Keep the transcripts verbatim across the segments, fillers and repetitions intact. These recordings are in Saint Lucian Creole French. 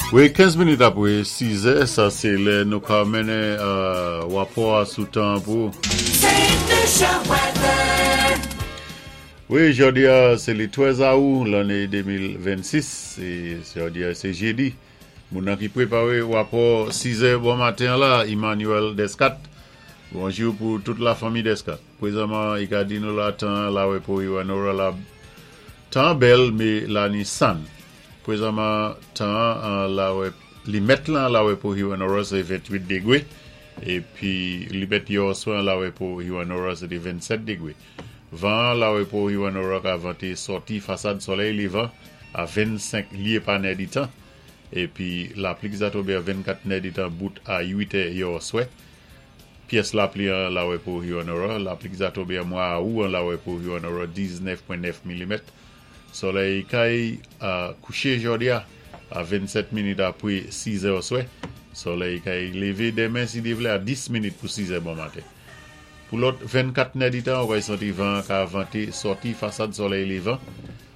Wi, kenz minit apwé sis è, sa sé lè nou ka mennen euh, wapò sou tan pou. Saint Lucia weather. Wi, jòdi a, sé lé trèz awou, lanné de mil vennsis, é jòdi a, sé jédi. Moun nan ki pwéparé wapò sis è bon maten la, Emmanuel Descat. Bonjou pou tout la fanmi Descat. Pwézanman, i ka di nou la tan la wé pou Hewanorra la tan bèl mé la ni sann. Pwézanman tan an la wé li mèt lan la wé pou Hewanorra sé venntwit dégwé épi li mèt yè oswè la wé pou Hewanorra sé té vennsèt dégwé. Van la wé pou Hewanorra ka vanté sòti fasad solèy lévan a vennsenk lyé pa nèditan épi lapli ki sa tonbé a vennkat nèditan bout a uit è yè oswè. Pyès lapli an la wé pou Hewanorra, lapli ki sa tonbé an mwa awou an la wé pou Hewanorra diznèf pwen nèf milimèt. Solèy kay a kouché jòdi a a vennsèt minit apwé sis è oswè. Solèy kay lévé denmen si Dye vlé a dis minit pou sis è bon maten. Pou lòt vennkat nèditan, ou kay santi van ka vanté sòti fasad solèy lévan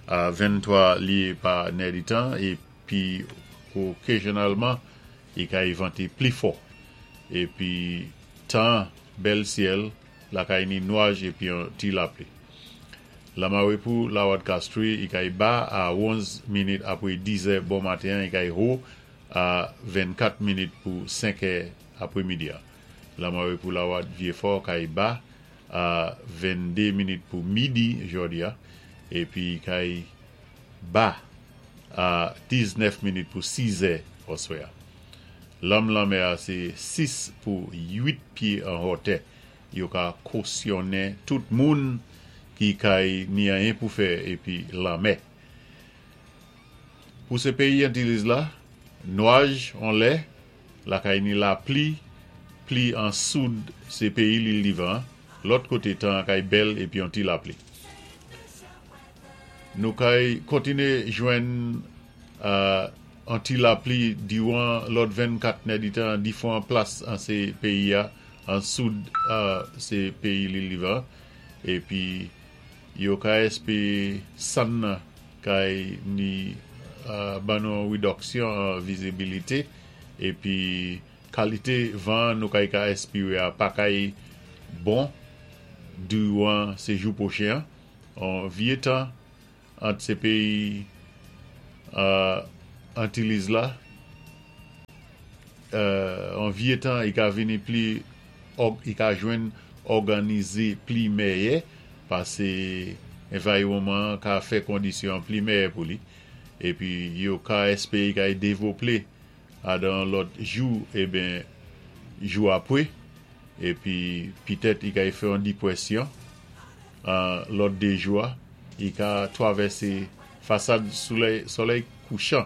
a venntwa lyé pa nèditan épi okazyonalman i kay vanté pli fò. Épi tan bèl syèl, la kay ni nwaj épi yon ti lapli. Lamawé pou Lawad Castries, i kay ba a onz minit apwé dis è bon maten, i kay wo a vennkat minit pou senk è apwé midi. Lamawé pou Lawad Vieux-Fort kay ba a venndé minit pou midi jòdi a, épi kay ba a diznèf minit pou sis è oswè. Lanm lanmè a sé sis pou uit pyé an wotè. Yo ka kosyonnen tout moun ki kay ni anyen pou fè épi lanmè. Pou sé péyi Antiliz la, nwaj an lè, la kay ni lapli, pli an soud sé péyi Lil Divan, lòt koté tan kay bèl épi yon ti lapli. Nou kay kontiné jwenn euh, an ti lapli diwan lòt vennkat nèditan difwan plas an sé péyi a, an soud euh, sé péyi Lil Divan, épi yo ka èspéwé sann nan kay ni euh, ban nou widoksyon an vizibilité épi kalité van nou kay ka èspéwé a pa kay bon diwan sé jou pwochen an vyé tan ant sé péyi euh, Antiliz la euh, an vyé tan i ka vini pli i ka jwenn òganizé pli mèyè pasé anviwonman ka fè kondisyon pli mèyè pou li épi yo ka èspéwé kay dévloplé adan lòt jou eben jou apwé épi pitèt i kay fè an dipwésyon an lòt dé jou a i ka twavèsé fasad solèy, solèy kouchan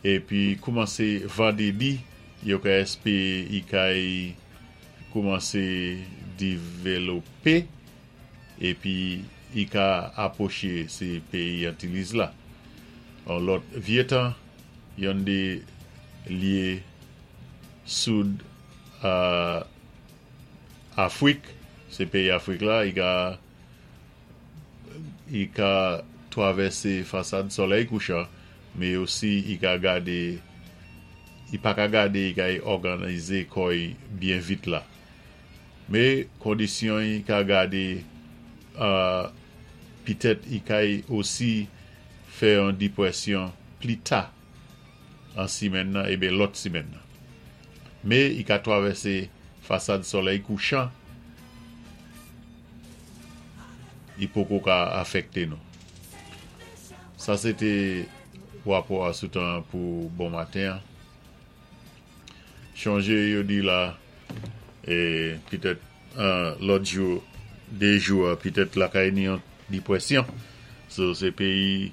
épi koumansé vandédi yo ka èspéwé i kay koumansé divelopé épi i ka apwoché sé péyi Antiliz la. An lòt vyé tan, yon dé lyé soud a Afwik, sé péyi Afwik la, i ka i ka twavèsé fasad solèy kouchan, mé osi i ka gadé i pa ka gadé i kay òganizé kò'y byen vit la. Mé kondisyon i ka gadé euh, pitèt i kay osi fè yon dipwésyon pli ta an simenn nan eben lòt simenn nan. Mé i ka twavèsé fasad solèy kouchan i poko ka afèkté nou. Sa sé té wapò a sou tan pou bon maten. Chonjé yo di la é pitèt lòt jou, dé jou pitèt la kay ni yon dipwésyon. So sé péyi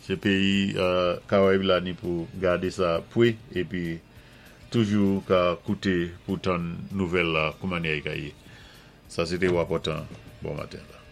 sé péyi euh, Karayib la ni pou gadé sa pwé épi toujou ka kouté pou tann nouvèl la kouman i ka yé. Sa sé té wapò tan bon maten la.